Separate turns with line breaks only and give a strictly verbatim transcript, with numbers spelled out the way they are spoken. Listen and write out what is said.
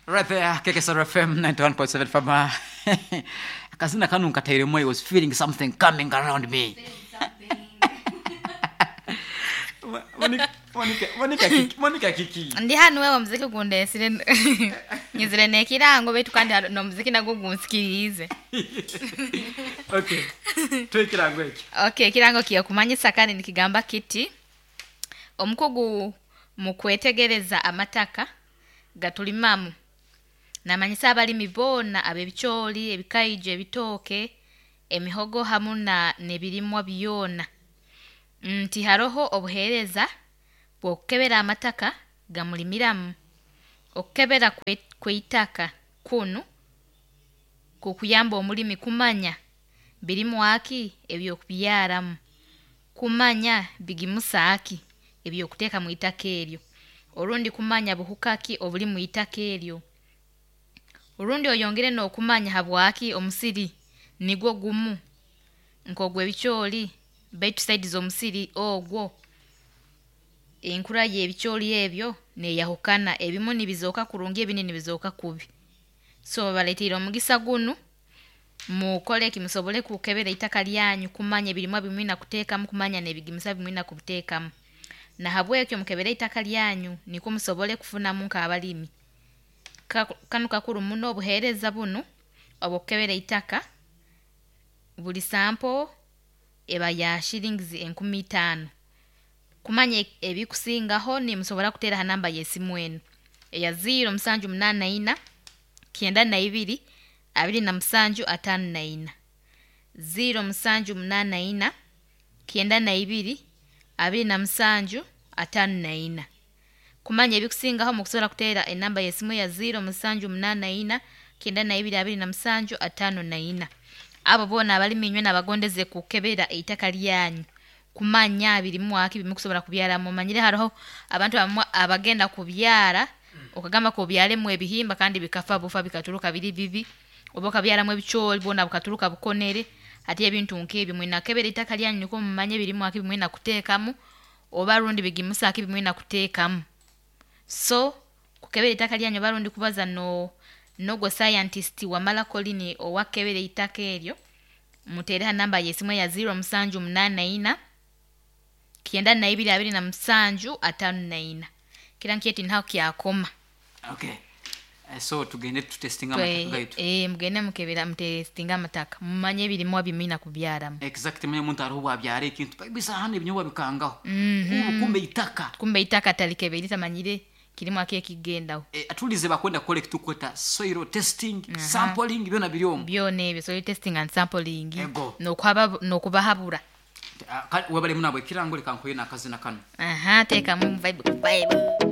Right there, K K S R F M ninety-one point seven Fama. Akazina kanu nkatairemu, I was feeling something coming around me. Monica, Monica, Monica kiki, Monica kiki.
Ndi hano wewe, omuziki gundesire, nyizire nekirango, baitu kandi haro- n'omuziki nagwo gunsikiriize.
Okay. Twekirango eki.
Okay, ekirango kiyokumanyisa kandi nikigamba kiti: omukugu mu kwetegereza amataka gatulimamu namanyisa abalimi boona ab'ebicooli, ebikaijo, ebitooke, emihogo hamu na n'ebirimwa byona nti haroho obuheereza bw'okukebera amataka gamulimiramu. Okukebera kwe- kw'eitaka kunu kukuyamba omulimi kumanya birimwaki ebyokubyaramu, kumanya bigimusa ki ebyokuteeka mu itaka eryo, orundi kumanya buhuka ki obuli mu itaka eryo, orundi oyongere n'okumanya habwaki omusiri nigwo gumu nk'ogw'ebicooli, baitu side z'omusiri ogwo enkura y'ebicooli ebyo neeyahukana, ebimu nibizooka kurungi, ebindi nibizooka kubi. So babaleetiire omugisa gunu, mukole ki musobole kukebera itaka lyanyu kumanya ebirimwa bimwina kuteekamu, kumanya n'ebigimusa bimwina kubiteekamu. Nahabwekyo mukebere itaka lyanyu nikwo musobole kufunamu nk'abalimi. Ka- kanu kakuru muno obuheereza bunu obw'okukebera itaka. Buli sample eba ya shillings enkumi itaano. Kumanya ebikusingaho nimusobora kuteera ha namba y'esimu enu eya ziro musanju munaana ina kyenda na ibiri abiri na musanju ataano na ina, ziro musanju munaana ina kyenda na ibiri abiri na musanju ataano na ina. Kumanya ebikusingaho mukusobora kuteera enamba y'esimu eya ziro musanju munaana ina kyenda na ibiri abiri na musanju ataano na ina. Abo boona abalimi inywe nabagondeze kukebera eitaka lyanyu kumanya birimwaki bimukusobora kubyaramu. Omanyire haroho abantu abamu abagenda kubyara, okagamba kobyaremu ebihimba kandi bikafa bufa, bikaturuka biri bibi, oba okabyaramu ebicooli bwoona bukaturuka bukonere. Hati ebintu nk'ebyo mwina kukebera itaka lyanyu nikwo mumanye birimwaki bimwina kuteekamu oba rundi bigimusa ki bimwina kuteekamu. So kukebera itaka lyanyu oba rundi kubaza no n'ogwo scientist Wamala Colin owakebera eitaka eryo, muteere ha namba y'esimu eya ziro musanju munaana ina kyenda na ibiri abiri na musanju ataano na ina. Kira nkyeti ntaho kyakoma.
Okay. Eh, so tugende tutestinga amataka gaitu.
Eh, mugende mukebera, mutestinga amataka, mumanye ebirimwa bimwina kubyaramu.
Exact, manye omuntu hariho bwabyara ekintu bisa hano ebinyobwa bikangaho.
Mhm.
Kumbe kumbe itaka.
Kumbe itaka talikebera, tamanyire kirimwa ki ekigendaho.
Eh, atulize bakwenda kukola ekitukweta soil testing, sampling, byona biri omu.
Byona ebyo, soil testing and sampling.
Ego.
Nokuhaba nokubahabura.
Ah, kale webale munabo ekirango, leka nkoye n'akazina kano.
Aha, teekamu vibe vibe.